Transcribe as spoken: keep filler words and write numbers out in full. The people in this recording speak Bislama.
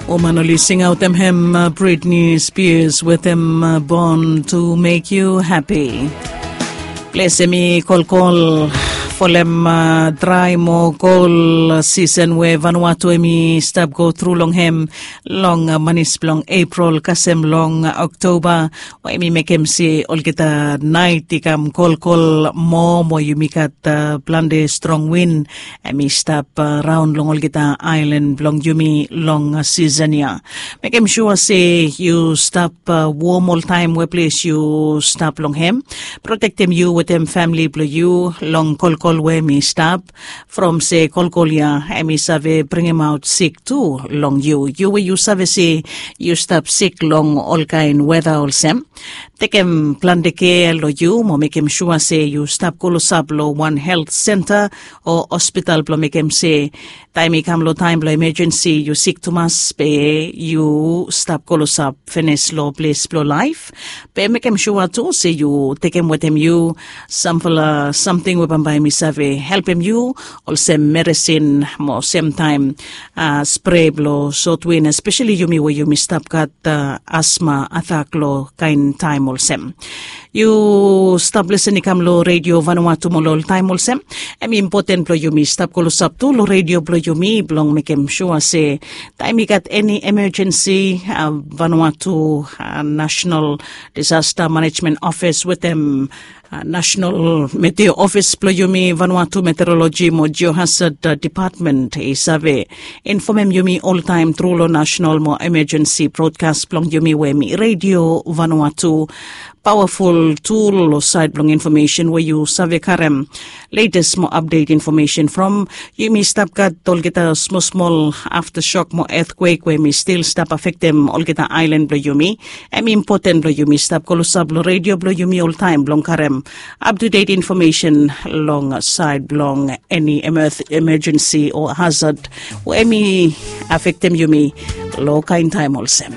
Woman oli singaotem hem, Britney Spears wetem Born to Make You Happy. Ples hem i kolkol folem drai mo kol sisen we Vanuatu hem i stap go tru long hem long manis blong Epril kasem long Oktoba, we hem i mekem se olgeta naet i kam kolkol moa mo yumi gat plante strong win hem i stap raon long olgeta aelan blong yumi long sisen ya. Mekem sua se yu stap wom oltaem we ples yu stap long hem. Protektem yu wetem famili blong yu long kolkol we hem i stap, from se kolkol ya hem i save bringemaot sik tu long yu. Yu we yu save se yu stap sik long olkaen weta olsem, tekem plante kea long yu mo mekem sua se yu stap klosap long wan helt senta o hospital blong mekem se taem i kam long taem blong emejensi yu sik tumas be yu stap klosap finis long ples blong laef. Be mekem sua tu se yu tekem wetem yu samfala samting we bambae hem i save helpem yu, olsem meresin mo semtaem spre blong sotwin, espeseli yumi we yumi stap gat asma atak long kaen taem olsem. Yu stap lesen i kam long Redio Vanuatu mo long oltaem olsem, hem i impoten blong yumi stap klosap tu long redio blong yumi blong mekem sua se taem i gat eni emejensi, Vanuatu National Disaster Management Office wetem National Meteo Office blong yumi, Vanuatu Meteorology mo Geohazard Department i save infomem yumi oltaem tru long nasenal mo emejensi brodkas blong yumi we hem i Redio Vanuatu. Pawaful tul long saed blong infomesen we yu save karem letes mo apdet infomesen from. Yumi stap gat olgeta smosmol aftashok mo etkwek we hem i stil stap afektem olgeta aelan blong yumi. Hem i impoten blong yumi stap klosap long redio blong yumi oltaem blong karem aptudet infomesen long saed blong eni emejensi o hazad we hem i afektem yumi long kaen taem olsem.